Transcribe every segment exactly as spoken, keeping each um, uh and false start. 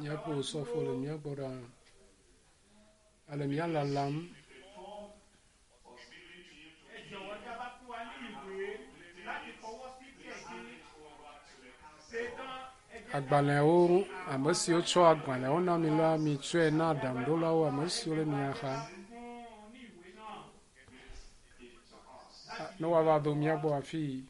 Míaƒe osɔfo le mía gbɔ ɖaa. Ele mía lalam. Agbalẽwo, ame siwo tsɔ agbalẽwo na mi la, mitsɔe na aɖaŋuɖolawo, ame siwo le mia xa. Ne woava do mía gbɔ afii.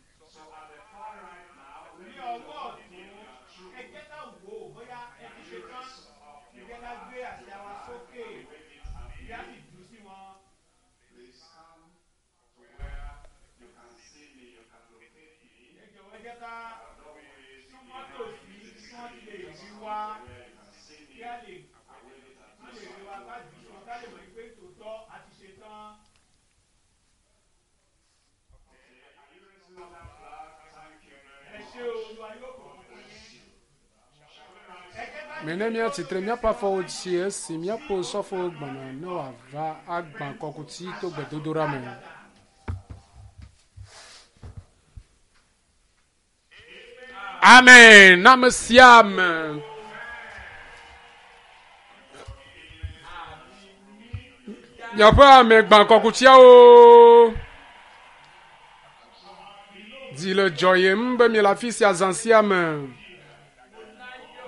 Mene míatsitre míaƒe afɔwo dzi esi míaƒe osɔfowo gbɔna ne wòava agbã kɔkuti to gbedodoɖa me. Amen. Na ame sia ame. Miaƒe ame gbã kɔkutiawo. Dzi le dzɔyem be miele afi sia zã sia me.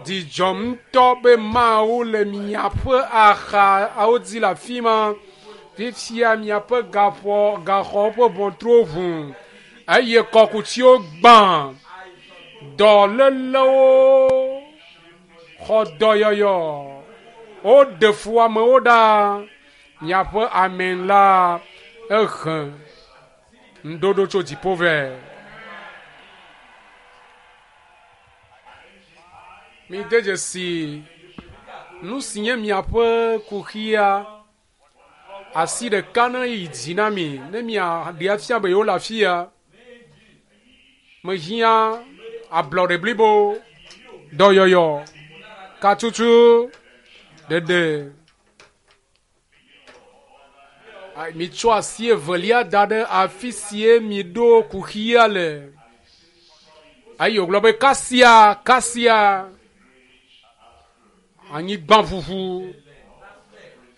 Dzidzɔ ŋutɔ be Mawu le miaƒe axawo dzi le afi ma. Fifia miaƒe gaƒɔ gaxɔwo ƒe ʋɔtruwo ʋu eye kɔkutiwo gbã. Dɔlélewo xɔ dɔyɔyɔ. Woɖe fu amewo ɖa. Miaƒe ame la ehe ŋuɖoɖo tso dziƒo vɛ. Mide dzesi nu si nye miaƒe kuxia. Asi ɖeka ne yi dzi na mi ne miaɖe afia be yewo le afia. Mehiã ablɔɖe blibo, dɔyɔyɔ, katutu, ɖeɖe. Mitsɔ asi evelia da ɖe afi sie miɖo kuxia le. Eye wògblɔ be kasia, kasia, anyigba ʋuʋu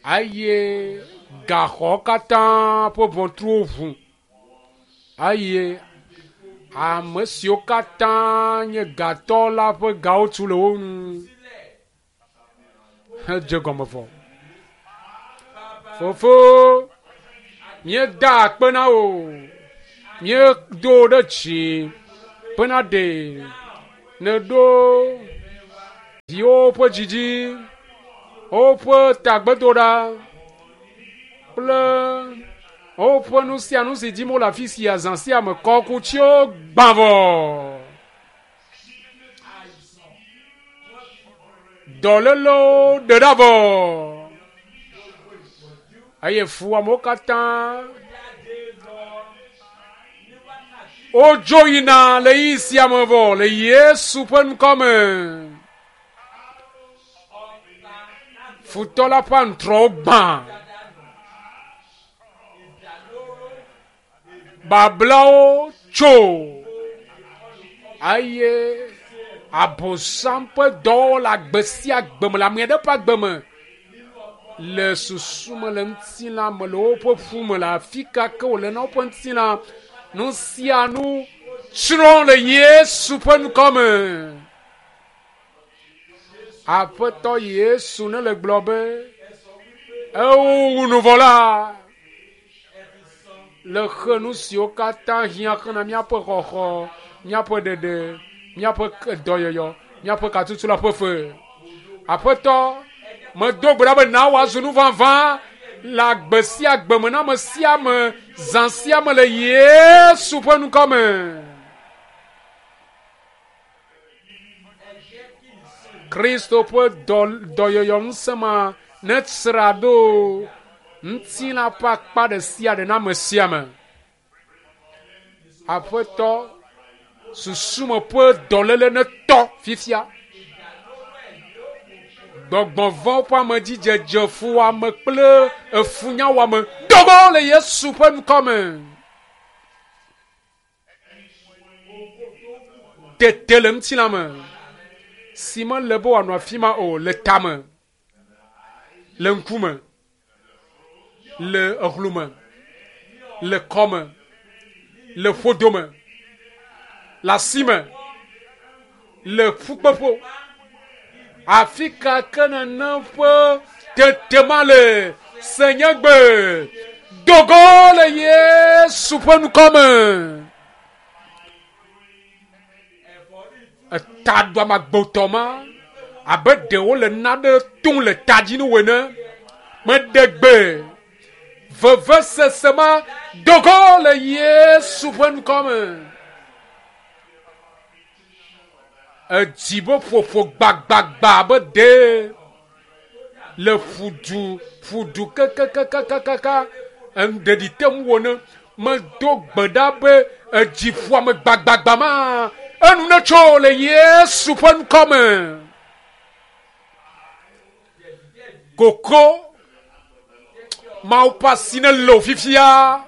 eye gaxɔ katã ƒe ʋɔtruwo ʋu eye ame siwo katã nye gatɔ la ƒe gawo tu le wo ŋu hedze gɔme vɔ. Fofo, míeda akpe na wò, míedo wò ɖe dzi bena ɖe nèɖo viwòwo ƒe dzi dzi. Woƒe tagbedoɖa kple woƒe nu sia nu si dim wole afi sia zã sia me kɔkutsiwo gbã vɔ. Dɔlélewo ɖe ɖa vɔ. Eye fuamewo katã wodzo yina le ɣeyiɣi sia me vɔ le Yesu ƒe ŋkɔ me. Futɔ la ƒe aŋutrɔwo gbã. Bablawo tso eye abosam ƒe dɔwɔwɔ le agbe sia agbe me le ame aɖe ƒe agbe me le susu me le ŋutilã me le woƒe ƒu me le afi ka ke wòle na woƒe ŋutilã nu sia nu tsrɔ̃ le Yesu ƒe ŋkɔ me. Aƒetɔ Yesu ne le gblɔ be ewo wu nu vɔ la le xe nu siwo katã hiã xena míaƒe xɔxɔ, míaƒe ɖeɖe, míaƒe dɔyɔyɔ, míaƒe katutu la ƒe fe. Aƒetɔ, medo gbe ɖa be na wòazu nu vavã le agbe sia agbe me na ame sia ame zã sia me le Yesu ƒe ŋkɔ me. Kristo ƒe dɔyɔyɔ ŋusẽ ma netsra ɖo ŋutilã ƒe akpa ɖe sia ɖe na ame sia ame. Aƒetɔ, susume ƒe dɔléle netɔ fifia. Gbɔgbɔ vɔ̃ ƒe amedzidzedze fuwɔame kple efunyawɔame dogo le Yesu ƒe ŋkɔ me. Tete le ŋutilã me si mele be wòanɔ afi ma o le tame, le ŋkume, le exlume, le kɔme, le ƒodome, le asime, le ƒukpeƒo. Afi ka ke nene ƒe tete ma le senyegbe dogo le Yesu ƒe ŋkɔ me. Etaɖuame agbotɔ ma abe ɖe wole nane tum le ta dzi nu ene. Meɖe gbe vevesese ma dogo le Yesu ƒe ŋkɔ me. Edzi be ƒoƒo gbagbagba abe ɖe le ƒudu ƒudu kekekekekeka ɖeɖi te ŋu wɔ ne medo gbe ɖa be edzi ƒoame gbagbagba ma enu netso le Yesu ƒe ŋkɔ me. Koko Mawu ƒe asi ne le wò fifia.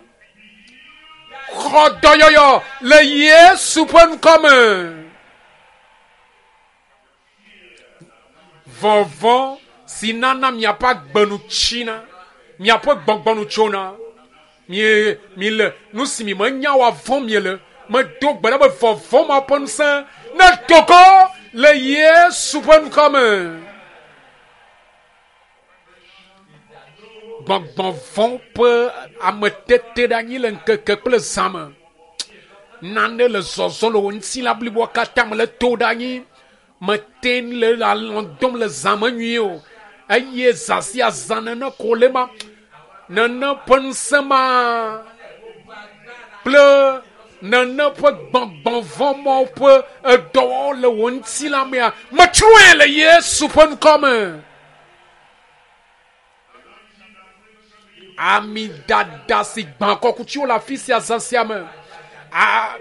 Xɔ dɔyɔyɔ le Yesu ƒe ŋkɔ me. Vɔvɔ̃ si nana miaƒe agbe nu tsina, miaƒe gbɔgbɔ nu tsona. Mie mi le nu si mi menya woavɔ̃ miele. Medo gbe ɖa be vɔvɔ̃ ma ƒe ŋusẽ ne dogo le Yesu ƒe ŋkɔ me. Gbɔgbɔ vɔ̃ ƒe ametete ɖe anyi le ŋkeke kple zã me. Nane le zɔzɔ le wò ŋutilã bliboa katã me le to ɖe anyi. Mete le alɔ̃ dɔm le zã me nyuie o. Eye zã sia zã nene ko le ma. Nene ƒe ŋusẽ ma kple nene ƒe gbɔgbɔ vɔ̃ mawo ƒe edɔwɔwɔ le wò ŋutilã mea, metsrɔ̃e le Yesu ƒe ŋkɔ me. Ami dada si gbã kɔkutsiwo le afi sia zã sia me. A,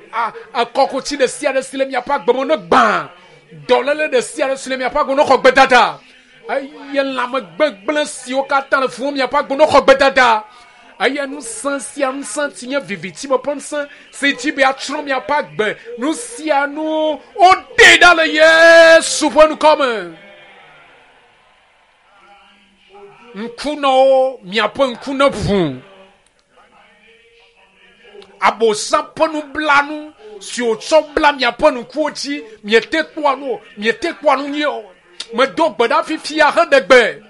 a, kɔkutsi ɖe sia ɖe si le miaƒe agbe me ne gbã. Dɔléle ɖe sia ɖe si le miaƒe agbe me ne xɔ gbedada. Eye lãmegbegblẽ siwo katã le fuwɔm miaƒe agbe ne xɔ gbedada. Eye ŋusẽ sia ŋusẽ si nye viviti me ƒe ŋusẽ si dzi be atsrɔ̃ miaƒe agbe. Nu sia nu woɖee ɖa le Yesu ƒe ŋkɔ me. Ŋkunɔwo miaƒe ŋku ne ʋu. Abosam ƒe nublanu si wòtsɔ bla miaƒe ŋkuwo dzi miete kpɔa nu o, miete kpɔa nu nyuie o. Medo gbe ɖa fifia heɖe gbe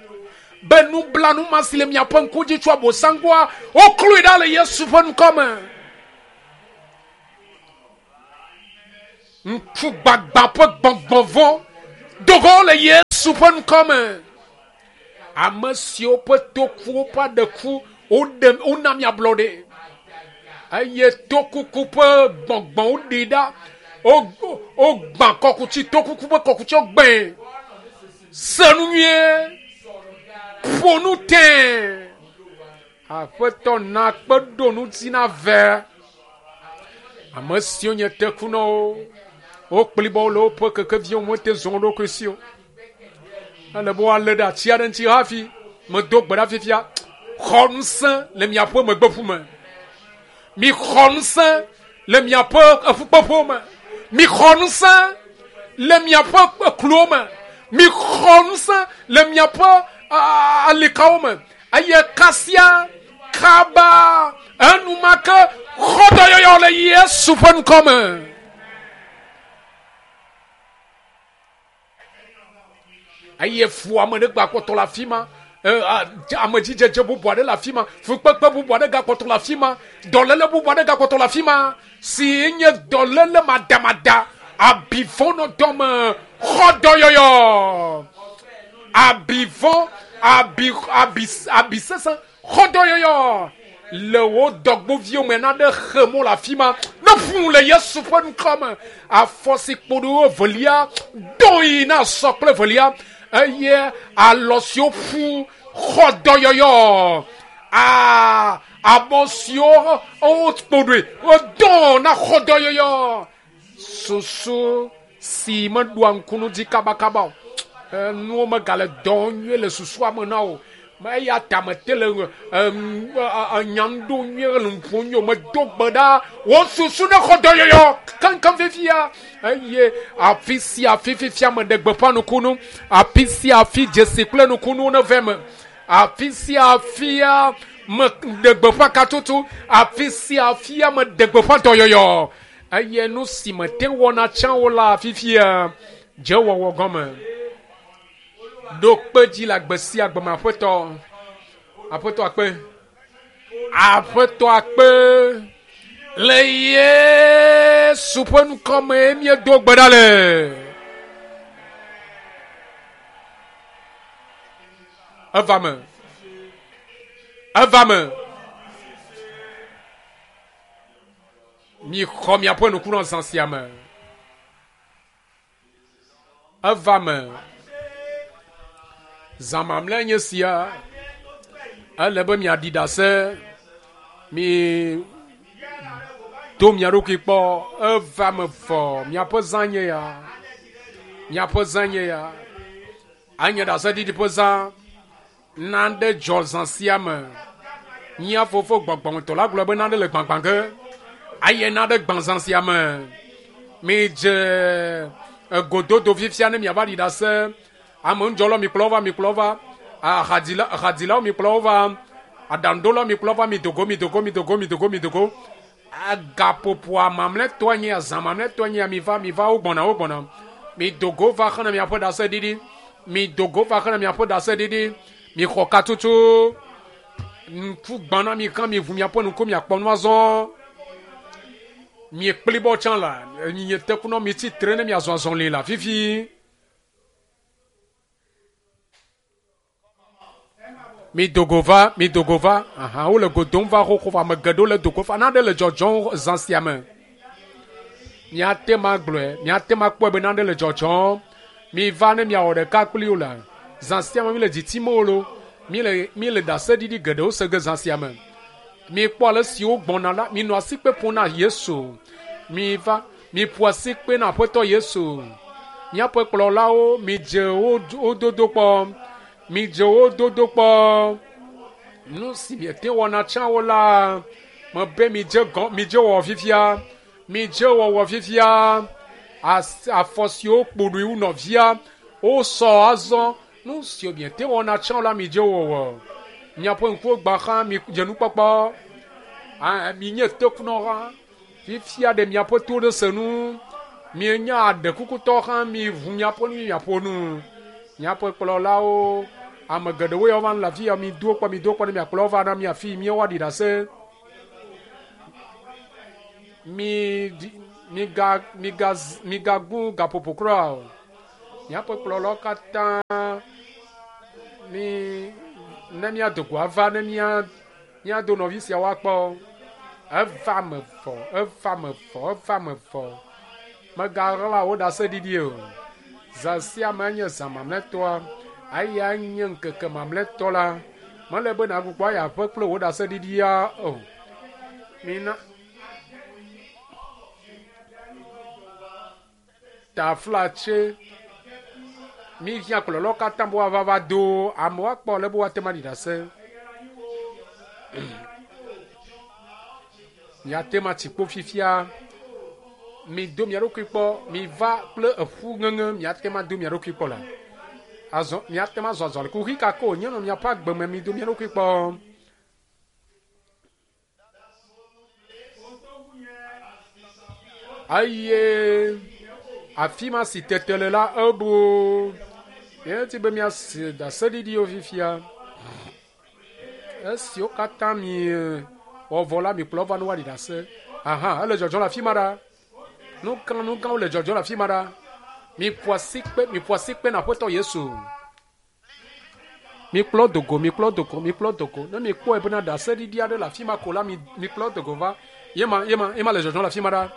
be nublanu ma si le miaƒe ŋku dzi tso abosam gbɔa, wokloe ɖa le Yesu ƒe ŋkɔ me. Ŋku gbagba ƒe gbɔgbɔ vɔ̃ dogo le Yesu ƒe ŋkɔ me. Ame siwo ƒe tokuwo ƒe aɖe ku, woɖe wona mi ablɔɖe. Eye tokuku ƒe gbɔgbɔwo ɖi ɖa. Wogbã kɔkuti, tokuku ƒe kɔkutiwo gbãe. Se nu nyuie. Ƒo nu tẽe. Aƒetɔ na kpe ɖo ŋuti na ve. Ame siwo nye tekunɔwo, wokplibɔ le woƒe kekeviwo mete zɔ wo ɖokui si o. Ele be woalé ɖe ati aɖe ŋuti hafi medo gbe ɖa fifia. Xɔ ŋusẽ le miaƒe megbeƒu me. Mi xɔ ŋusẽ le miaƒe eƒukpeƒewo me. Mi xɔ ŋusẽ le miaƒe ekluwo me. Mi xɔ ŋusẽ le miaƒe alikawo me. Eye kasia kaba enumake xɔ dɔyɔyɔ le Yesu ƒe ŋkɔ me. Eye fu ame ɖe gakpɔtɔ le afi ma. Amedzidzedze bubu aɖe le afi ma. Fukpekpe bubu aɖe gakpɔtɔ le afi ma. Dɔléle bubu aɖe gakpɔtɔ le afi ma. Si nye dɔléle madamada. Abivɔ nɔ dɔme. Xɔ dɔyɔyɔ. Abivɔ, abi, abi, abi sesẽ. Xɔ dɔyɔyɔ. Le wo dɔgboviwo me naɖe xe mɔ le afi ma. Ne ƒu le Yesu ƒe ŋkɔ me. Afɔ si kpo ɖo evelia, do yi na sɔ kple evelia. Eye alɔ siwo ƒu xɔ dɔyɔyɔ. Aa, abɔ siwo wokpo ɖoe, wodo na xɔ dɔyɔyɔ. Susu si meɖoa ŋku nu dzi kabakaba o. Nuwo megale dɔ nyuie le susua me na o. Eya ta mete le nya ŋu nyuie le ŋu nyuie o. Medo gbe ɖa. Wo susu ne xɔ dɔyɔyɔ keŋkeŋ fifia. Eye afi sia afi fifia meɖe gbeƒã nukunu. Afi sia afi dzesi kple nukunuwo ne va eme. Afi sia afia meɖe gbeƒã katutu. Afi sia afia meɖe gbeƒã dɔyɔyɔ. Eye nu si mete wɔna tsã o la fifia dze wɔwɔ gɔme. Ɖo kpe dzi le agbe sia agbe me aƒetɔ. Aƒetɔ akpe. Aƒetɔ akpe. Le Yesu ƒe ŋkɔ me míedo gbe ɖa le. Eva me. Eva me. Mi xɔ miaƒe nukunɔ zã sia me. Eva me. Zã mamlɛ nye sia. Ele be miaɖi ɖase. Mi do mia ɖokui kpɔ. Eva me vɔ. Miaƒe zã nye ya. Miaƒe zã nye ya. Anye ɖaseɖiɖi ƒe zã. Nane dzɔ zã sia me. Mía fofo gbɔgbɔmetɔ la gblɔ be nane le gbãgbã ge. Eye nane gbã zã sia me. Midze egododo fifia ne miava ɖi ɖase. Ame ŋudzɔlawo mikplɔ wo va, mikplɔ wo va. Ahadzila, ahadzilawo mikplɔ wo va. Aɖaŋuɖolawo mikplɔ wo va. Midogo, midogo, midogo, midogo, midogo. Gaƒoƒoa mamlɛtɔa nye ya, zã mamlɛtɔa nye ya. Miva, miva, wo gbɔna, wo gbɔna. Midogo va xena miaƒe ɖaseɖiɖi. Midogo va xena miaƒe ɖaseɖiɖi. Mixɔ katutu. Ŋku gbã na mi hã miʋu miaƒe ŋku miakpɔ nu azɔ. Miekplibɔ tsã la, nye tekunɔ mitsi tre ne miazɔ azɔli la fifi. Midogo va, midogo va. Aha, wole go dom va xoxo va. Ame geɖewo le dogo va. Nane le dzɔdzɔm zã sia me. Miate ma gblɔe, miate ma kpɔe be nane le dzɔdzɔm. Miva ne miawɔ ɖeka kpli wo la. Zã sia me mi le dzitim o lo. Mi le, mi le ɖaseɖiɖi geɖewo se ge zã sia me. Mikpɔ ale si wogbɔna la, minɔ asikpe ƒom na Yesu. Miva, miƒo asikpe na Aƒetɔ Yesu. Míaƒe kplɔlawo, midze wo, wo dodo kpɔ. Midze wo dodo kpɔ. Nu si miete wɔna tsã o la, mebe midze gɔ, midze wɔwɔ fifia. Midze wɔwɔ fifia. As, afɔ siwo kpo ɖoe wu nɔvia, wosɔ azɔ. Nu siwo miete wɔna tsã o la, midze wɔwɔ. Miaƒe ŋkuwo gbã xã, midze nukpɔkpɔ. A, minye tekunɔ hã. Fifia ɖe miaƒe to ɖe se nu. Mienya aɖekukutɔ hã, miʋu miaƒe nu, miaƒo nu. Miaƒe kplɔlawo, ame geɖewo ya va le afi ya, mido kpɔ, mido kpɔ ne miakplɔ wo va na mi afi míawoaɖi ɖase. Mi, miga, miga, migagu gaƒoƒo kura o. Miaƒe kplɔlawo katã Mi ne míado go ava ne mía míado nɔvi siawo akpɔ. Eva me vɔ, eva me vɔ, eva me vɔ. Megaɣla wo ɖaseɖiɖi o. Zã sia me nye zã mamlɛtɔa. Eya nye ŋkeke mamlɛtɔ la. Mele be nàgbugbɔ ayi aƒe kple wò ɖaseɖiɖia o. Mina taflatse mihiã kplɔlawo katã be woava va do amewo akpɔ ale be woate ŋu aɖi ɖase. Miate ŋu atsi kpo fifia. Mido mia ɖokui kpɔ. Miva kple eƒu ŋeŋe miate ŋu ado mia ɖokui kpɔ la. Azɔ miate ŋu azɔ azɔ le kuxi ka ke wònye nɔ miaƒe agbe me mido mia ɖokui kpɔ. Eye afi ma si tete le la ebu. Míedi be míase ɖaseɖiɖiwo fifia. Esiwo katã mi wɔ vɔ la mikplɔ va ne woaɖi ɖase. Aha, ele dzɔdzɔm le afi ma ɖa. Nuka nukawo le dzɔdzɔm le afi ma ɖa. Miƒo asi kpe, miƒo asi kpe na Aƒetɔ Yesu. Mikplɔ dogo, mikplɔ dogo, mikplɔ dogo. Ne mikpɔe bena ɖaseɖiɖi aɖe le afi ma ko la, mi mikplɔ dogo va. Yema, yema, yema le dzɔdzɔm le afi ma ɖa.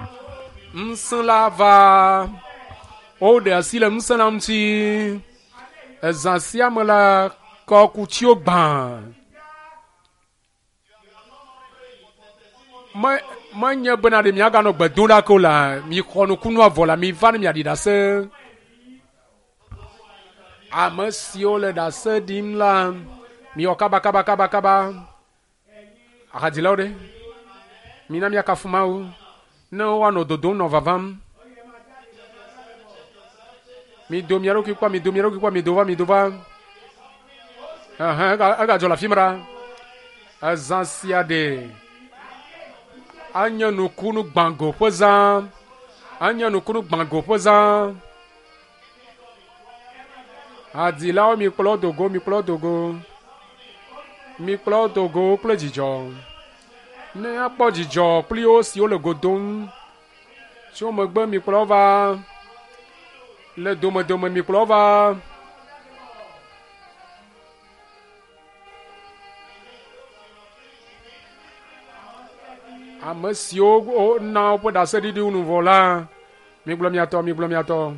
Ŋusẽ la va. Woɖe asi le ŋusẽ la ŋuti. Ezã sia me la, kɔkutsiwo gbã. Me menye bena ɖe miaganɔ gbe dom ɖa ke o la, mixɔ nukunua vɔ la, miva ne miaɖi ɖase. Ame siwo le ɖase ɖim la, miwɔ kaba kaba kaba kaba. Ahadzilawo ɖe, mina miakafu Mawu ne woanɔ dodom nɔ vavam. Mido mia ɖokui kpɔ, mido mia ɖokui kpɔ, mido va, mido va. Ɛhɛn, ega egadzɔ le afi ma ɖa. Ezã sia ɖe anye nukunu gbãgo ƒe zã. Anye nukunu gbãgo ƒe zã. Hadilawo mikplɔ dogo, mikplɔ dogo. Mikplɔ dogo kple dzidzɔ. Ne akpɔ dzidzɔ kpli wo siwo le go dom. Tso megbe mikplɔ va. Le domedome mikplɔ va. Ame siwo na woƒe ɖaseɖiɖi nu vɔ la, migblɔ miatɔ, migblɔ miatɔ.